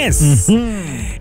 Yes.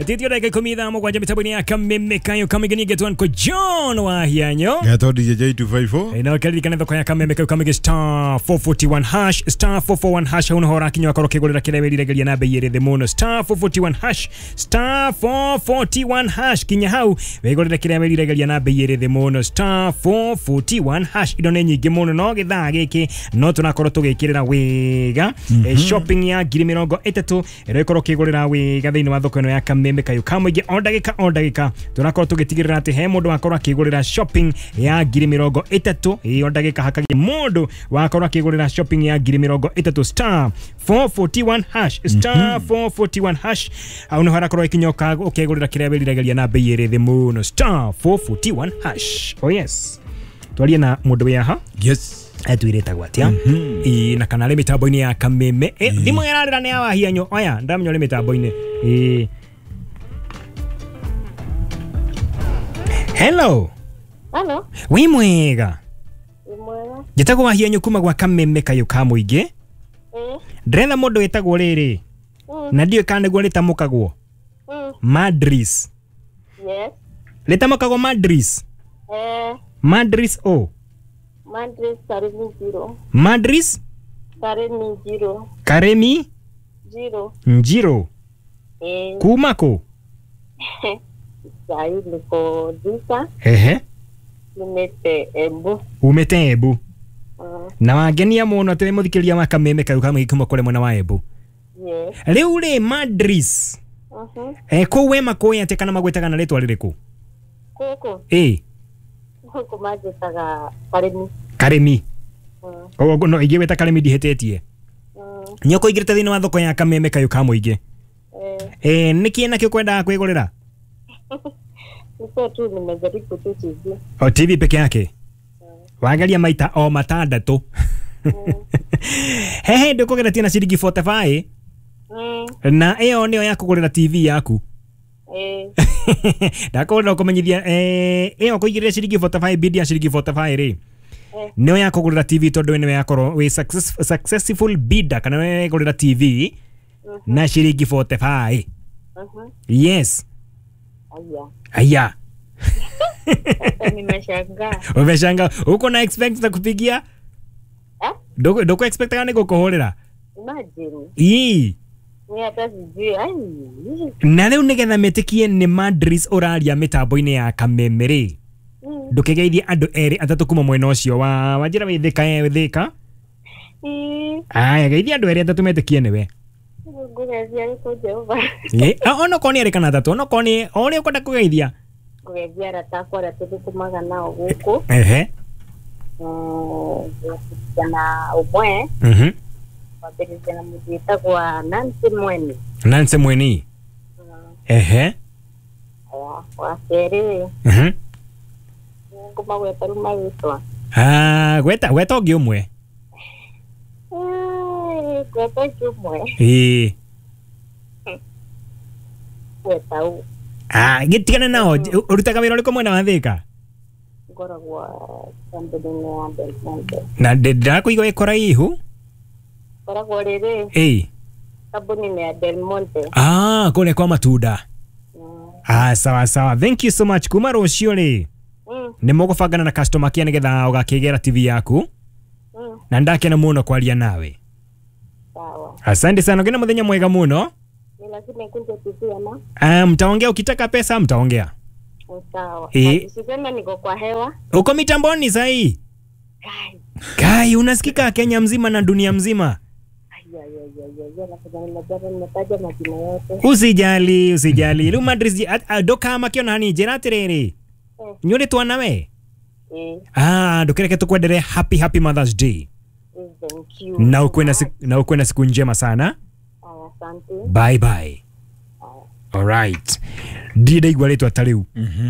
Titio dakika 17 mitambo-inĩ ya Kameme kayo kamĩgeni getwan ko John Wahianyo. Gatho DJ 254. Na ũkaririkana thoko ya Kameme kayo kamĩgĩ star 441 hash star 441 hash hau nĩho ũrakinya wakorwo ũkĩgũrĩra kĩrĩa wĩriragĩria na bei ĩrĩ thĩ mũno star 441 hash star 441 hash kinya hau wĩgũrĩre kĩrĩa wĩriragĩria na bei ĩrĩ thĩ mũno star 441 hash. Indo nĩ nyingĩ mũno no gĩthaa gĩkĩ no tũrakorwo tũgĩkĩrĩra wega shopping ya 30,000 ĩrĩa ĩkorwo ũkĩgũrĩra wega thĩinĩ wa thoko ĩno ya Kameme kayo kamũingĩ o ndagĩka o ndagĩka tũrakorwo tũgĩtigĩrĩra atĩ he mũndũ wakorwo akĩgũrĩra shopping ya 30,000 ĩ o ndagĩka hakagĩa mũndũ wakorwo akĩgũrĩra shopping ya 30,000 star 441 hash star 441 hash au nĩho harakorwo ĩkinyoka ũkĩgũrĩra kĩrĩa wĩriragĩria na bei ĩrĩ thĩ mũno star 441 hash. Oh yes, twarie na mũndũ wĩ haha. Yes. Atwĩrĩtagwo atĩa ĩ na kana arĩ mĩtambo-inĩ ya Kameme. Thimũ ĩrarĩra nĩ ya Wahianyo. Oya ndamenya ũrĩ mĩtambo-inĩ. Hello. Hello. Wĩ mwega? Wĩ mwega. Njĩtagwo Wahianyo kuma gwa Kameme kayo ka mũingĩ. Ndĩretha mũndũ wĩtagwo rĩrĩ na ndiũĩ kana nĩguo rĩtamũkagwo Madris. Yes. Rĩtamũkagwo Madris. Madris o Madris Karemi Njiro. Madris Karemi Njiro. Karemi Njiro. Njiro. Kuma kũ? Sai niko Thika. Ehe. Umete Embu. Umete Embu. Na wangenia mũno atĩ wĩ mũthikĩrĩria wa Kameme kayo kamũingĩ kuma kũrĩ mwena wa Embu. Yes. Rĩu rĩ Madris. Kũu we makũĩ atĩ kana magwĩtaga na rĩtwa rĩrĩkũ? Gũkũ. Ĩ. Gũkũ manjĩtaga Karemi. Karemi. Koguo no ingĩgwĩta Karemi ndihĩtĩtie. Nĩ ũkũingĩrĩte thĩinĩ wa thoko ya Kameme kayo ka mũingĩ. Nĩkĩ nakĩo kwendaga kwĩgũrĩra? Niko tu nimejaribu tu TV. O TV peke yake? Wageria maita o matandatũ. He hĩndĩ ũkũgeretie na ciringi 45 na ĩyo nĩyo ya kũgũrĩra TV yaku. Ndakũgũrĩra ũkũmenyithia ĩyo kũigĩrĩra ciringi 45 bidi ya ciringi 45 rĩ nĩyo ya kũgũrĩra TV tondũ nĩyo yakorwo wĩ successful bidder kana nĩwe wegũrĩra TV na ciringi 45. Yes. Aya. Aya. Nimeshangaa. Umeshangaa. Uko na expect za kupigia? Ndoko expect kana nĩgũkũhũrĩra? Imagine. Ii. Ni hata sijui. Ai. Na rĩu nĩgetha metĩkie nĩ Madris ũraria mĩtambo-inĩ ya Kameme rĩ. Ndũkĩgeithie andũ erĩ atatũ kuma mwena ũcio wa wanjĩra wĩ Thĩka wĩ Thĩka. Aya geithia andũ erĩ atatũ metĩkie nĩwe. Ngũgeithia nĩkũ Jehova. Onokorwo nĩ erĩ kana atatũ onokorwo nĩ o ũrĩa ũkwenda kũgeithia. Ngũgeithia arata akwa arĩa tũthũkũmaga nao gũkũ. Ehe. Ngũgeithia na ũmwe. Wambĩrĩria na mũndũ wĩtagwo Nancy Mweni. Nancy Mweni. Ehe. Wa kerĩ. Ngũmagweta rĩu marĩtwa. Gweta gweta ũngĩ ũmwe. Gweta ũngĩ ũmwe. Ĩĩ. Gweta ũ. Gĩtigane nao ũrutaga wĩra ũrĩkũ mwena wa Thĩka? Ngoragwo kambuni-inĩ ya Del Monte. Na ndĩrakũigua wĩ kũraihu. Ngoragwo rĩrĩ. Ĩĩ. Kambuni-inĩ ya Del Monte. Kũrĩa kwa matunda. Sawa sawa. Thank you so much. Kuma rũciũ rĩ. Nĩ mũgũbangana na customer care nĩgetha ũgakĩgĩra TV yaku. Na ndakena mũno kwaria nawe. Sawa. Asante sana. Ngena mũthenya mwega mũno. Ni lazima ikunje TV ama? Mtaongea ukitaka pesa mtaongea. Sawa. Usiseme niko kwa hewa. Uko mitamboni sahi? Kai. Kai unasikika Kenya mzima na dunia mzima. Usijali, usijali. Rĩu Madris ndoka makĩona hani njĩra atĩrĩrĩ. Nyũrĩ twana we? Ndũkĩreke tũkwendere happy happy Mother's Day. Thank you. Na ukuwe na siku njema sana. Asante. Bye bye. All right. Ndirĩ ndaigua rĩtwa ta rĩu.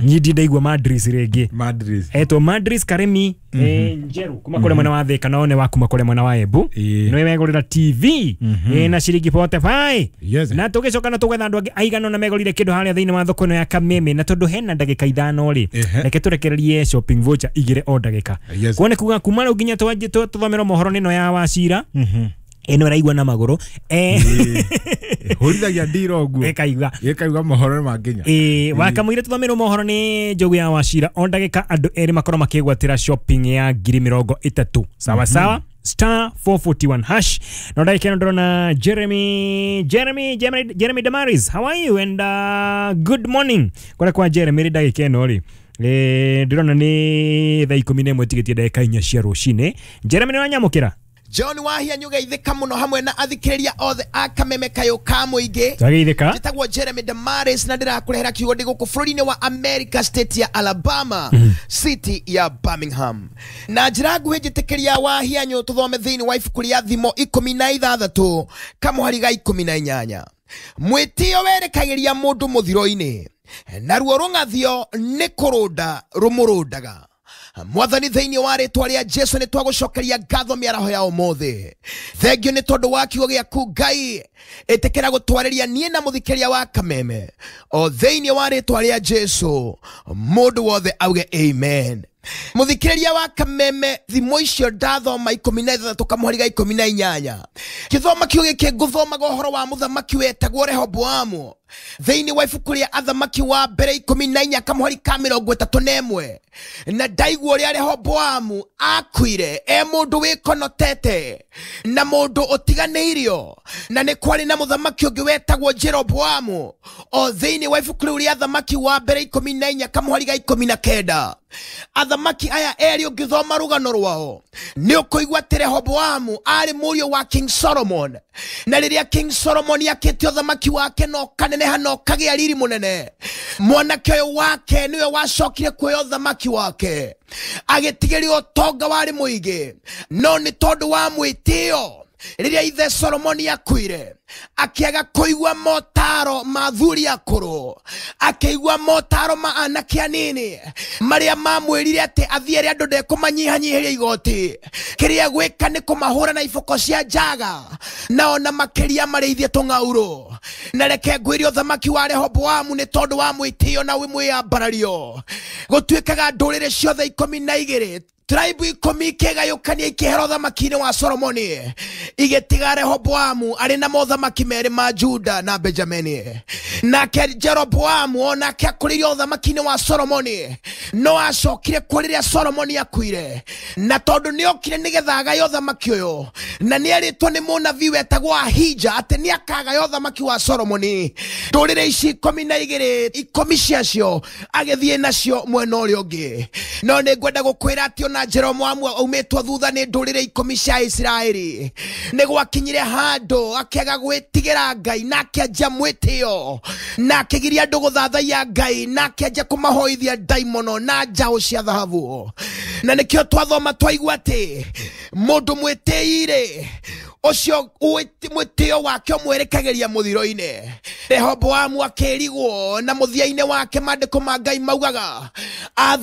Niĩ ndirĩ ndaigua Madris rĩngĩ. Madris. Etwo Madris Karemi Njeru kuma kũrĩa mwena wa Thĩka na one wa kuma kũrĩa mwena wa Embu. Nĩwe wegũrĩra TV na ciringi 45. Yes. Na tũgĩcoka na tũgetha andũ angĩ aigana ũna megũrire kĩndũ harĩa thĩinĩ wa thoko ĩno ya Kameme na tondũ hena ndagĩka 5 rĩ. Reke tũrekererie shopping voucher igĩrĩ o ndagĩka. Yes. Kuone kuga kuma rĩu nginya tũthomerwo mohoro nĩno ya Wacira. Ĩno ĩraigua na magũrũ. Hũrithagia ndira ũguo. Ĩkaigua. Ĩkaigua mohoro nĩmanginya. Wakamũira tũthomerwo mohoro nĩ Njogu ya Wachira. O ndagĩka andũ erĩ makorwo makĩgwatĩra shopping ya 30,000. Sawa sawa. Star 441 hash. No ndagĩka ĩno ndĩrona Jeremy Damaris. How are you and good morning. Kũrĩa kwa Jeremy rĩ ndagĩka ĩno rĩ. Ndĩrona nĩ thaa 11 tigĩtie ndagĩka 4 cia rũcinĩ. Jeremy nĩ wanyamũkĩra? John Wahia nyugeithĩka mũno hamwe na athikĩrĩria othe a Kameme Kayũ ka mũingĩ. Twageithĩka. Njĩtagwo Jeremy Damaris na ndĩrakũrehera kiugo ndĩ gũkũ bũrũri-inĩ wa America, state ya Alabama, city ya Birmingham. Na njĩra nguhĩ njĩtĩkĩria Wahia nyũ tũthome thĩinĩ wa ibuku rĩa Thimo 16 kamũhari ga 18. Mwĩtĩo werekagĩria mũndũ mũthiro-inĩ, naruo rũng'athio nĩ kũrũnda rũmũrũndaga. Mwathani thĩinĩ wa rĩtwa rĩa Jesu nĩ twagũcokeria ngatho mĩaraho ya ũmũthĩ. Thengiũ nĩ tondũ wa kiugo gĩaku Ngai, ĩtĩkĩra gũtwarĩria niĩ na mũthikĩria wa Kameme o thĩinĩ wa rĩtwa rĩa Jesu. Mũndũ wothe auge amen. Mũthikĩrĩria wa Kameme, thimo icio ndathoma 16 kamũhari ga 18. Kĩthoma kiugo gĩkĩ ngũthomaga ũhoro wa mũthamaki wetagwo Rehoboamu thĩinĩ wa ibuku rĩa Athamaki wa mbere 14 kamũhari ka 31. Na ndaigua ũrĩa Rehoboamu akuire e mũndũ wĩkonotete na mũndũ ũtiganĩirio, na nĩ kwarĩ na mũthamaki ũngĩ wetagwo Jeroboamu o thĩinĩ wa ibuku rĩu rĩa Athamaki wa mbere 14 kamũhari ga 19. Athamaki aya erĩ ũngĩthoma rũgano rwao nĩ ũkũigua atĩ Rehoboamu arĩ mũriũ wa King Solomon, na rĩrĩa King Solomon akĩte ũthamaki wake na ũkaneneha na ũkagĩa riri mũnene, mwanake ũyũ wake nĩwe wacokire kuoya ũthamaki wake, agĩtigĩria ũtonga warĩ mũingĩ, no nĩ tondũ wa mwĩtĩo rĩrĩa ithe Solomoni akuire akĩaga kũigua motaro ma athuri akũrũ, akĩigua motaro ma anake anini marĩa mamwĩrire atĩ athiĩ arĩa andũ ndekũmanyihanyihĩria igoti, kĩrĩa gwĩka nĩ kũmahũra na iboko cia njaga na ona makĩria marĩithie tũng'aurũ. Na reke ngwĩre ũthamaki wa Rehoboamu nĩ tondũ wa mwĩtĩo na mwĩyambarario, gũtuĩkaga ndũrĩrĩ ciothe 12 tribe 10 ikĩgayũkania ikĩhera ũthamaki-inĩ wa Solomoni, igĩtiga Rehoboamu arĩ na mothamaki merĩ ma Juda na Benjamini. Nake Jeroboamu onake akũrĩire ũthamaki-inĩ wa Solomoni, no acokire kuo rĩrĩa Solomoni akuire, na tondũ nĩokire nĩgetha agaye ũthamaki ũyũ, na nĩerĩtwo nĩ mũnabii wetagwo Ahija atĩ nĩakagaya ũthamaki wa Solomoni, ndũrĩrĩ ici 12 10 ciacio agĩthiĩ nacio mwena ũrĩa ũngĩ. No nĩngwenda gũkwĩra atĩ ona Jeroboamu aumĩtwo thutha nĩ ndũrĩrĩ 10 cia Isiraeli, nĩ gwakinyire handũ akĩaga gwĩtigĩra Ngai na akĩanjia mwĩtĩo na akĩgiria andũ gũthathaiya Ngai na akĩanjia kũmahoithia ndaimono na njaũ cia thahabu. Na nĩkĩo twathoma twaigua atĩ mũndũ mwĩtĩi-rĩ, ũcio mwĩtĩo wake ũmwerekagĩria mũthiro-inĩ. Rehoboamu akĩrigwo na mũthia-inĩ wake maandĩko ma Ngai maugaga